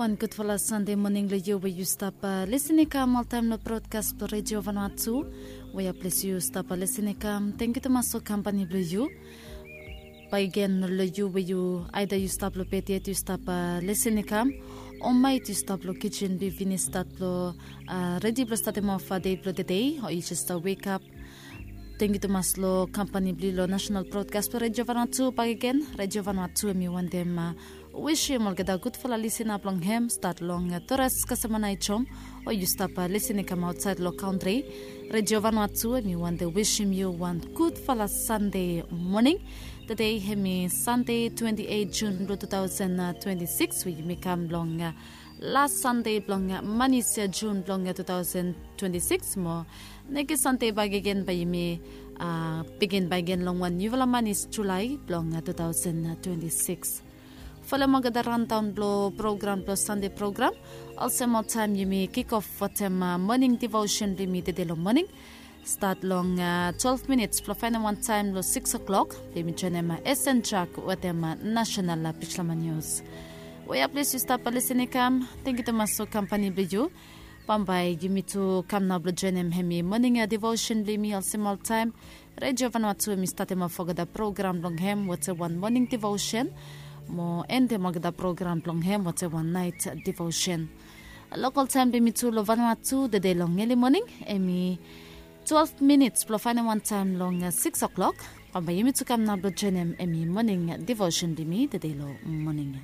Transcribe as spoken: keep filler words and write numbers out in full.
Wan gudfala Sande moning long yu we yu stap lisin i kam oltaem long brodkas blong Redio Vanuatu. We ya ples yu stap lisin i kam, tengiu tumas long kampani blong yu. Bakegen long yu we yu aeda yu stap long bed yet yu stap lisin i kam, o maet yu stap long kijen blong yu finis stat blong redi blong statem of dei blong tedei, o yu jes wekap. Tengiu tumas long kampani blong yu long National Brodkas blong Redio Vanuatu. Bakegen, Redio Vanuatu em i wantem wisim olgeta gudfala lisina blong hem stat long Torres, Kasamanaijom, o yu stap lisin i kam aotsaed long kantri. Redio Vanuatu em i wantem wisim yu wan gudfala Sande moning. Tedei hem i Sande twenti eit Jun blong tu taosen twenti sikis we yumi kam long las Sande blong manis Jun blong tu taosen twenti sikis mo nekis Sande bakegen bae yumi bigin bakegen long wan niufala manis Julae blong tu taosen twenti sikis. Folem olgeta raondaon blong program blong Sande program. Olsem oltaem yumi kikof wetem moning divosen blong yumi tede long moning. Stat long twelef minits blong faenem wantaem long sikis oklok blong yumi joenem Esen Jak wetem nasenal pijlama nius. We ya ples yu stap lisin i kam, tengiu tumas long kampani blong yu. Bambae yumi tu kam nao blong joenem hem i moning divosen blong yumi olsem oltaem. Redio Vanuatu em i statem of olgeta program blong hem wetem wan moning divosen mo endem olgeta program blong hem wetem wan naet divosen. Lokol taem blong yumi tu long Vanuatu tede long eli moning em i twelef minits blong faenem wantaem long sikis oklok. Bambae yumi tu kam nao blong joenem hem i moning divosen blong yumi tede long moning.